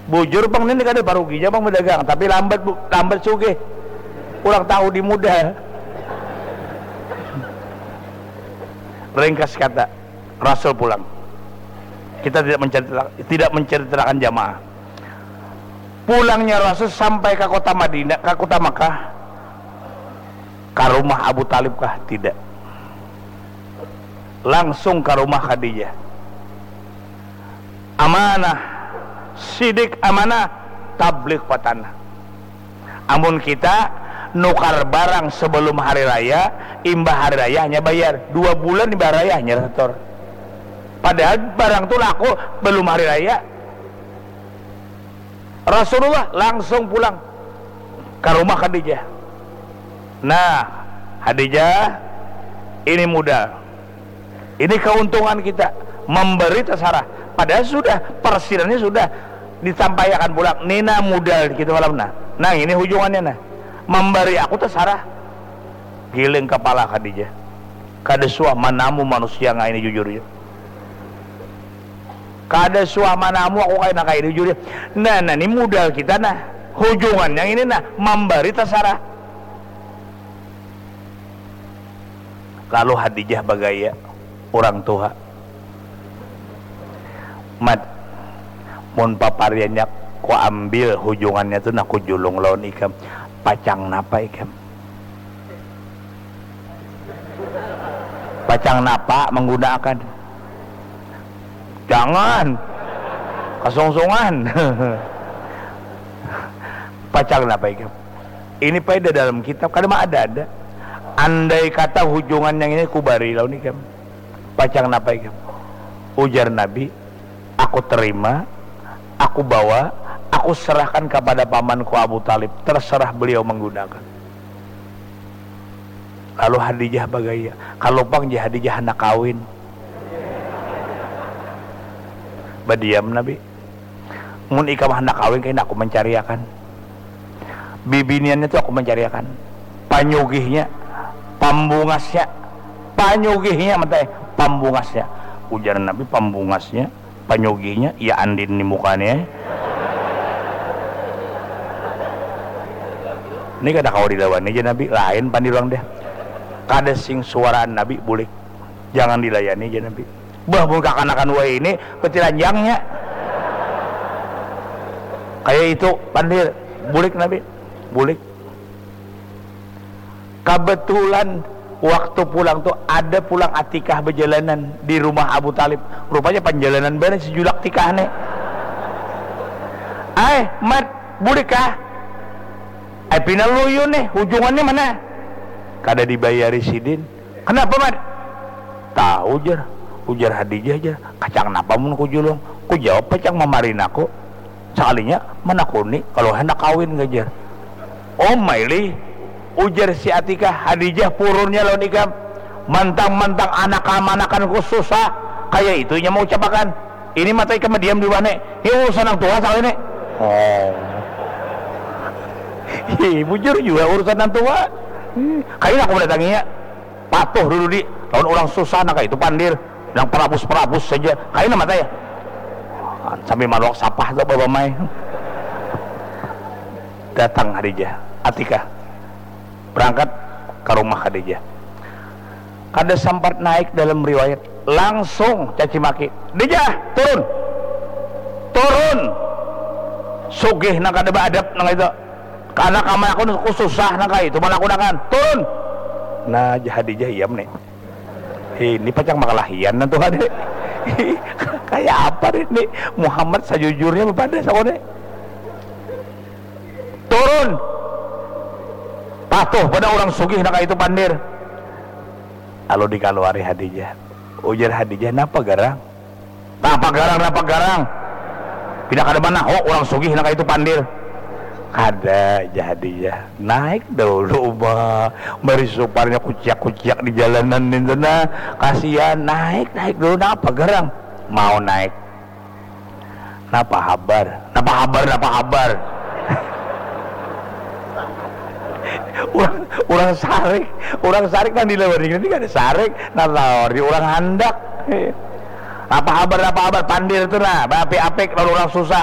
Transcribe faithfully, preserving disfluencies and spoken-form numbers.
Bujur pang, nini kada paruginya pang badagang, tapi lambat, Bu, lambat sugih. Kurang tahu di muda. Ringkas kata, Rasul pulang. Kita tidak menceritakan, tidak menceritakan jamaah. Pulangnya Rasul sampai ke kota Madinah, ke kota Makkah, ke rumah Abu Talib kah? Tidak. Langsung ke rumah Khadijah. Amanah, sidik amanah, tablik patanah. Amun kita nukar barang sebelum hari raya, imbah hari raya hanya bayar. Dua bulan imbah raya hanya setor. Padahal barang tu laku belum hari raya. Rasulullah langsung pulang ke rumah Khadijah. Nah, Khadijah, ini modal. Ini keuntungan kita memberi tasarah. Padahal sudah, persinannya sudah disampaikan pulang. Nina modal kita malam nah. Nah, ini hujungannya nah. Memberi aku tasarah. Giling kepala Khadijah. Kada suah manamu manusia ngai ini jujur ya. Kada suah manamu aku kaina kaya ini jujur ya. Nah, nah ini modal kita nah. Hujungannya ini nah, memberi tasarah. Lalu Hadijah bagaya, urang tuha, "Mat, mun papariannya kuambil hujungannya tu nah kujulung lawan ikam, pacang napa ikam?" "Pacang napa manggunaakan?" "Jangan, kasungsungan." "Pacang napa ikam?" "Ini pai da dalam kitab, kada maada-ada. Andai kata hujungan nang ini kubari lawan ikam, pacang napa ikam?" Ujar Nabi, "Aku terima, aku bawa, aku serahkan kapada pamanku Abu Talib, terserah beliau menggunakan." Lalu Hadijah bagaya, "Kalu pang ja Hadijah handak kawin." Badiam Nabi. "Mun ikam handak kawin, kaina aku mancariakan. Bibiniannya tu aku mancariakan. Panyugihnya, pambungasnya, panyugihnya, matai, pambungasnya." Ujar Nabi, "Pambungasnya, panyugihnya, iya andin ni mukanya." Ini kada kawa dilawani ja Nabi, lain pandir urang deh. Kada sing suaraan Nabi, bulik. Jangan dilayani ja Nabi. Bah, mun kakanakan wahini, betilanjangnya. Kaya itu, pandir. Bulik Nabi. Bulik. Kebetulan waktu pulang tu ada pulang Atikah bejalanan di rumah Abu Talib. Rupanya panjalanan banar si julak Tikah ni. "Ai, Mat, bulik kah?" "Ai, pina luyun nih, hujungannya mana?" "Kada dibayari sidin." "Kenapa, Mat?" "Tahu jar, ujar Hadijah jar, kacang napa mun kujulung?" Kujawab pacang mamarin aku. Sakalinya manakuni kalau handak kawin, gajar. "Oh, mailih," ujar si Atikah, "Hadijah purunnya lawan ikam. Mantang-mantang anak kamanakanku susah, kaya itu inya maucapakan. Ini mata ikam diam di rumah ni. Ini urusan nang tuha sakali ni." Oh. Hi, bujur jua urusan nang tuha. Hi, kaina aku mendatanginya. Patuh dulu di lawan urang susah nang kaya itu pandir. Nang perabus-perabus saja. Kaina mata ya. Sambil maluak sapah tu babamai. Datang Hadijah. Atikah. Berangkat ke rumah Khadijah. Kada sampat naik dalam riwayat, langsung caci maki. "Dijah, turun! Turun! Sugih nang kada baadab nang itu. Kana kamar aku, aku susah nang kaya itu, mana aku nakan. Turun!" Nah, Hadijah iam nih. Ini pacang makalahian nah tuh ada. Kayak apa nih, nih? Muhammad sajujurnya bapadah sakone. "Turun! Patuh pada urang sugih nang kaya itu pandir." Lalu dikaluari Hadijah. Ujar Hadijah, "Napa garang?" "Napa garang, napa garang? Pina kada mana, ho, urang sugih nang kaya itu pandir." "Kada," jar Hadijah. "Naik dahulu, Uma. Bari suparnya kuciak-kuciak di jalanan nintu nah. Kasian, naik, naik dulu. Napa garang?" "Mau naik." "Napa habar? Napa habar? Napa habar?" Urang, urang sarik, urang sarik nang dilawani ini kada sarik, nang lawar di urang handak. "Napa habar, napa habar? Pandir tu nah, baapik-apik lawan urang susah.